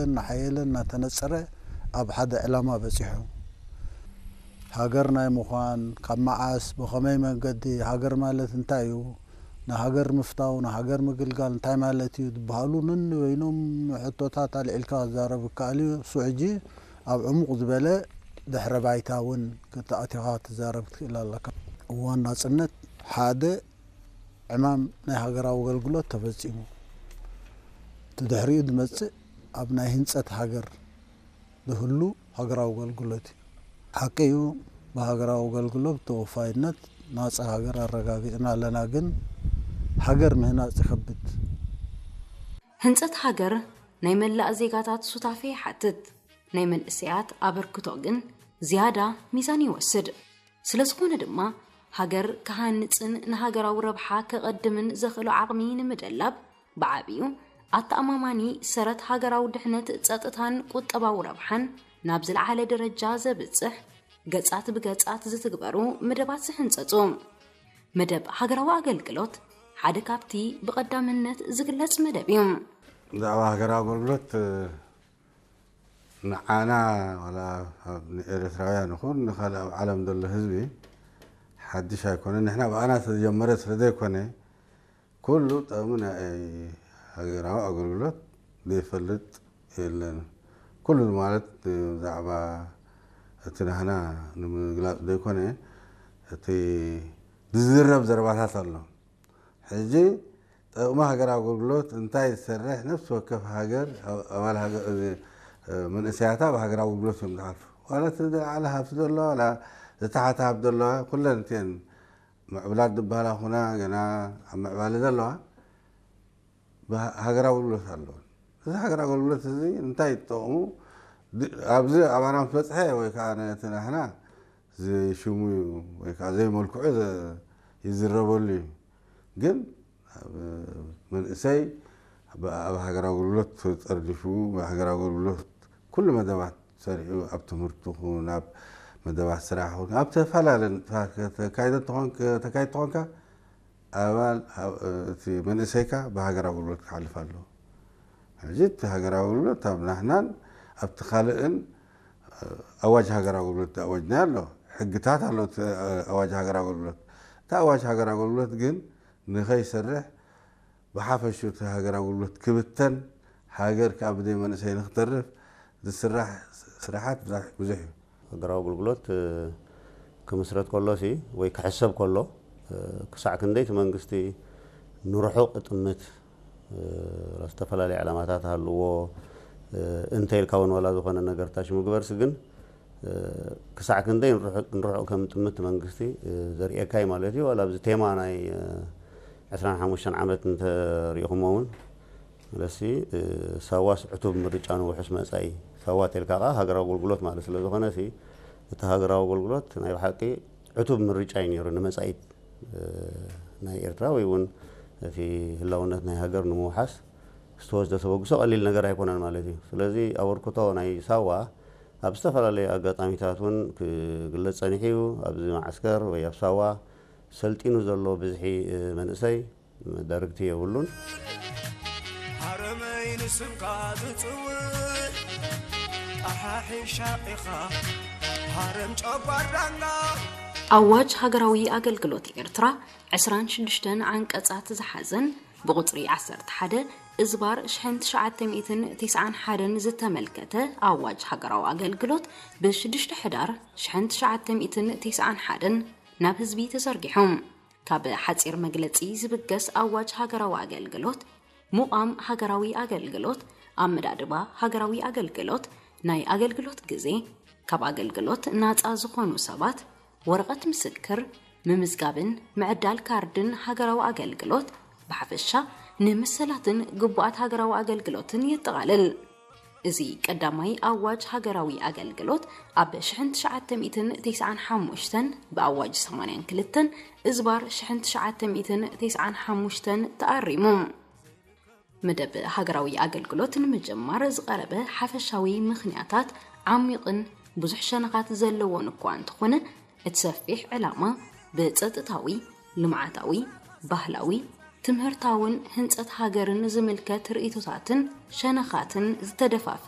እናሓየለ እናተነጸረ ኣብ ሓደ ዕላማ በጺሑ። ሃገር ናይ ምዃን፣ ካብ መዓስ፣ ብኸመይ መንገዲ፣ ሃገር ማለት እንታይ እዩ፣ ንሃገር ምፍታው፣ ንሃገር ምግልጋል እንታይ ማለት እዩ ዝበሃሉ ነንበይኖም ሕቶታት ኣልዒልካ ክዛረብ ይከኣል እዩ። እሱ ሕጂ ኣብ ዕሙቕ ዝበለ ድሕረ ባይታ እውን ክተኣቲኻ ትዛረብ ትኽእል ኣለካ። እዋን ናጽነት ሓደ ዕማም ናይ ሃገራዊ ኣገልግሎት ተፈጺሙ። እቲ ድሕሪኡ ዝመጽእ ኣብ ናይ ህንጸት ሃገር ዝህሉ ሃገራዊ ኣገልግሎት እዩ። ሓቂ እዩ፣ ብሃገራዊ ኣገልግሎት ተወፋይነት ናጻ ሃገር ኣረጋጊጽና ኣለና። ግን ሃገር ምህናጽ ይኸብድ። ህንጸት ሃገር ናይ መላእ ዜጋታት ሱታፌ ይሓትት። ናይ መንእሰያት ኣበርክቶ ግን ዝያዳ ሚዛን ይወስድ። ስለ ዝኾነ ድማ ሃገር ክሃንጽን ንሃገራዊ ረብሓ ከቐድምን ዘኽእሎ ዓቕሚ ንምደላብ ብዓብዩ ኣተኣማማኒ ሰረት ሃገራዊ ድሕነት፣ ጸጥታን ቁጠባዊ ረብሓን ናብ ዝለዓለ ደረጃ ዘብጽሕ ገጻት ብገጻት ዝትግበሩ መደባት ዝሕንጸጹ። መደብ ሃገራዊ ኣገልግሎት ሓደ ካብቲ ብቐዳምነት ዝግለጽ መደብ እዩ። ብዛዕባ ሃገራዊ ኣገልግሎት ንዓና ዋላ ኣብ ንኤርትራውያን ይኹን ንኻልእ ኣብ ዓለም ዘሎ ህዝቢ ሓድሽ ኣይኮነን። ንሕና ብኣና ዝተጀመረ ስለ ዘይኮነ ኩሉ ጥቕሚ ናይ ሃገራዊ ኣገልግሎት ዘይፈልጥ የለን። ኩሉ ማለት ብዛዕባ እቲ ናህና ንምግላፅ ዘይኮነ እቲ ዝዝረብ ዘረባታት ኣሎ። ሕጂ ጥቕሚ ሃገራዊ ኣገልግሎት እንታይ ዝሰርሕ ነፍሲ ወከፍ ሃገር ኣባል መንእሰያታ ብሃገራዊ ኣገልግሎት እዮም ዝሓልፉ። ዋላ እቲ ዝለዓለ ሃብቲ ዘሎ ዋላ ዝተሓተ ሃብቲ ዘለዋ ኩለን እቲአን ምዕብላት ዝበሃላ ኩና ገና ኣብ ምዕባለ ዘለዋ ሃገራዊ ኣገልግሎት ኣለወን። እዚ ሃገራዊ ኣገልግሎት እዚ እንታይ ይጠቕሙ ኣብዚ ኣባና ምስ በፅሐ ወይ ከዓ ነቲ ናህና ዘይሽሙ ወይ ከዓ ዘይመልክዑ ይዝረበሉ እዩ። ግን መንእሰይ ኣብ ሃገራዊ ኣገልግሎት ተጠርኒፉ ሃገራዊ ኣገልግሎት ኩሉ መደባት ሰሪዑ ኣብ ትምህርቲ ኹን ኣብ መደባት ስራሕ ኹን ኣብ ተፈላለ ተካይደ ተካይድ ተኾንካ ኣባል እቲ መንእሰይካ ብሃገራዊ ኣገልግሎት ክሓልፍ ኣለዎ። ሕጂ እቲ ሃገራዊ ኣገልግሎት ኣብ ናህናን ኣብቲ ካልእን ኣዋጅ ሃገራዊ ኣገልግሎት ኣወጅና ኣሎ። ሕግታት ኣሎ ኣዋጅ ሃገራዊ ኣገልግሎት። እቲ ኣዋጅ ሃገራዊ ኣገልግሎት ግን ንኸይሰርሕ ብሓፈሹ እቲ ሃገራዊ ኣገልግሎት ክብተን ሃገር ከዓ ብዘይ መንእሰይ ንክተርፍ ዝስራሕ ስራሓት ብዙሕ እዩ። ሃገራዊ ኣገልግሎት ክምስረት ከሎ ሲ ወይ ክሕሰብ ከሎ ክሳዕ ክንደይ እቲ መንግስቲ ንርሑቕ እጥምት ዝተፈላለዩ ዕላማታት ሃልዎ እንተ ኢልካ እውን ዋላ ዝኾነ ነገር ታሽ ምግበርሲ ግን ክሳዕ ክንደይ ንርሑቕ ከም ጥምት መንግስቲ ዘርእየካ እዩ ማለት እዩ። ዋላ ኣብዚ ቴማ ናይ ዕስራን ሓሙሽተን ዓመት እንተሪኢኹሞ እውን ስለሲ ሳዋስ ዕቱብ ምርጫ ንውሑስ መፃኢ ሳዋ ተልካ ከዓ ሃገራዊ ኣገልግሎት ማለት ስለ ዝኾነ ሲ እቲ ሃገራዊ ኣገልግሎት ናይ ብሓቂ ዕቱብ ምርጫ እዩ ነይሩ ንመፃኢት ናይ ኤርትራ ወይ እውን እቲ ህላውነት ናይ ሃገር ንምውሓስ ዝተወስደ ተበግሶ ቀሊል ነገር ኣይኮነን ማለት እዩ። ስለዚ ኣበርክቶ ናይ ሳዋ ኣብ ዝተፈላለዩ ኣጋጣሚታት እውን ክግለፅ ፀኒሑ እዩ። ኣብዚ ማዓስከር ወይ ኣብ ሳዋ ሰልጢኑ ዘሎ ብዝሒ መንእሰይ መዳርግቲ የብሉን። ሃረመይ ንስምካ ዝፅውዕ ጣሓሒ ሻቂኻ ሃረም ጨጓር ዳንጋ ኣዋጅ ሃገራዊ ኣገልግሎት ኤርትራ ዕስራን ሽዱሽተን ዓንቀጻት ዝሓዘን ብቑጽሪ ዓሰርተ ሓደ እዝባር ሽሕን ትሽዓተ ሚእትን ተስዓን ሓደን ዝተመልከተ ኣዋጅ ሃገራዊ ኣገልግሎት ብሽዱሽተ ሕዳር ሽሕን ትሽዓተ ሚእትን ተስዓን ሓደን ናብ ህዝቢ ተዘርጊሑ። ካብ ሓጺር መግለጺ ዝብገስ ኣዋጅ ሃገራዊ ኣገልግሎት፣ ሙቓም ሃገራዊ ኣገልግሎት፣ ኣመዳድባ ሃገራዊ ኣገልግሎት፣ ናይ ኣገልግሎት ግዜ፣ ካብ ኣገልግሎት ናጻ ዝኾኑ ሰባት፣ ወረቐት ምስክር፣ ምምዝጋብን ምዕዳል ካርድን ሃገራዊ ኣገልግሎት፣ ብሓፈሻ ንመሰላትን ግቡኣት ሃገራዊ ኣገልግሎትን የጠቓልል። እዚ ቀዳማይ ኣዋጅ ሃገራዊ ኣገልግሎት ኣብ ሽሕን ትሽዓተ ሚእትን ተስዓን ሓሙሽተን ብኣዋጅ ሰማንያን ክልተን እዝባር ሽሕን ትሽዓተ ሚእትን ተስዓን ሓሙሽተን ተኣሪሙ። መደብ ሃገራዊ ኣገልግሎት ንምጅማር ዝቐረበ ሓፈሻዊ ምኽንያታት ዓሚቕን ብዙሕ ሸነኻት ዘለዎን እኳ እንተኾነ፣ እቲ ሰፊሕ ዕላማ ብጸጥታዊ፣ ልምዓታዊ፣ ባህላዊ፣ ትምህርታውን ህንጸት ሃገርን ዝምልከት ርእይቶታትን ሸነኻትን ዝተደፋፈ